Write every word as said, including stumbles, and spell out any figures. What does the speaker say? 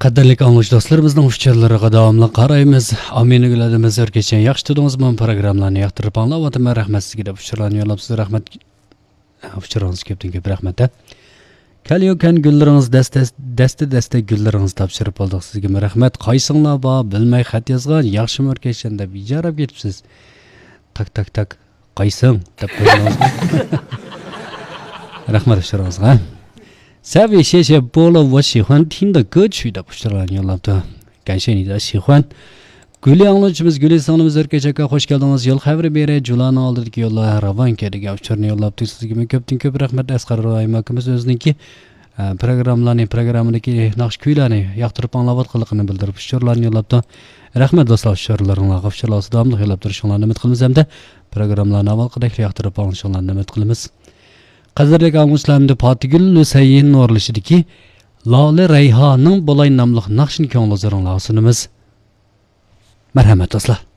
قەدىرلىك ئاڭلىغۇچى دوستلىرىمىزنىڭ ئۇچۇرلىرىغا داۋاملىق قارايمىز. ئامىنە گۈل ئادىمىز ئۆركەچەن، ياخشى تۇردىڭىزمۇ؟ پروگراممىلارنى ياقتۇرۇپ ئاڭلاۋاتىمەن، رەھمەت سىزگە دەپ ئۇچۇرلارنى يوللاپسىز. رەھمەت. ئۇچۇرىڭىز كۆپتىن كۆپ رەھمەت ھە. كەليوكەن گۈللىرىڭىز دەستە، دەستە دەستە گۈللىرىڭىز تاپشۇرۇپ ئالدۇق سىزگىمۇ رەھمەت. قايسىڭلار بار بىلمەي خەت يازغان، ياخشىمۇ ئۆركەچەن دەپ ئىجارەپ كېتىپسىز. تاك تاك تاك. قايسىڭ؟ دەپ قويدىڭىزغۇ. رەھمەت ئۇچۇرىڭىزغا. 三位谢谢波罗我喜欢听的歌曲 دەپ ئۇچۇرلارنى يوللاپتۇ. كەنشەينىدە شىخۇەن. گۈلى ئاڭلىغۇچىمىز گۈلى سىڭلىمىز ئۆركەچ ئاكا، خوش كەلدىڭىز. يول خەۋىرى بېرە، جۇلانىڭ ئالدىدىكى يوللار راۋان كەيدىگە ئۇچۇرنى يوللاپتۇ. سىزگىمۇ كۆپتىن كۆپ رەھمەت. ئەسقەر راھىم ئاكىمىز ئۆزىنىڭكى، ئە، پروگراممىلارنى، پروگراممىدىكى ناخشا كۈيلەرنى ياقتۇرۇپ ئاڭلاۋاتقانلىقىنى بىلدۈرۈپ ئۇچۇرلارنى يوللاپتۇ. رەھمەت دوستلار، ئۇچۇرلىرىڭلارغا ئۇچۇرلار داۋاملىق يوللاپ تۇرۇشۇڭلارنى ئۈمىد قىلىمىز ھەمدە پروگراممىلارنى ئاۋۋالقىدەكلا ياقتۇرۇپ ئاڭلىشىڭلارنى ئۈمىد قىلىمىز. قەدىرلىك ئاڭلىغۇچىلار، ئەمدى پاتىگۈل ھۈسەيىن ئورۇنلىشىدىكى لالە رەيھانىڭ بولاي ناملىق ناخشىنى كۆڭۈل ھۇزۇرۇڭلارغا سۇنىمىز. مەرھەمەت، دوستلار.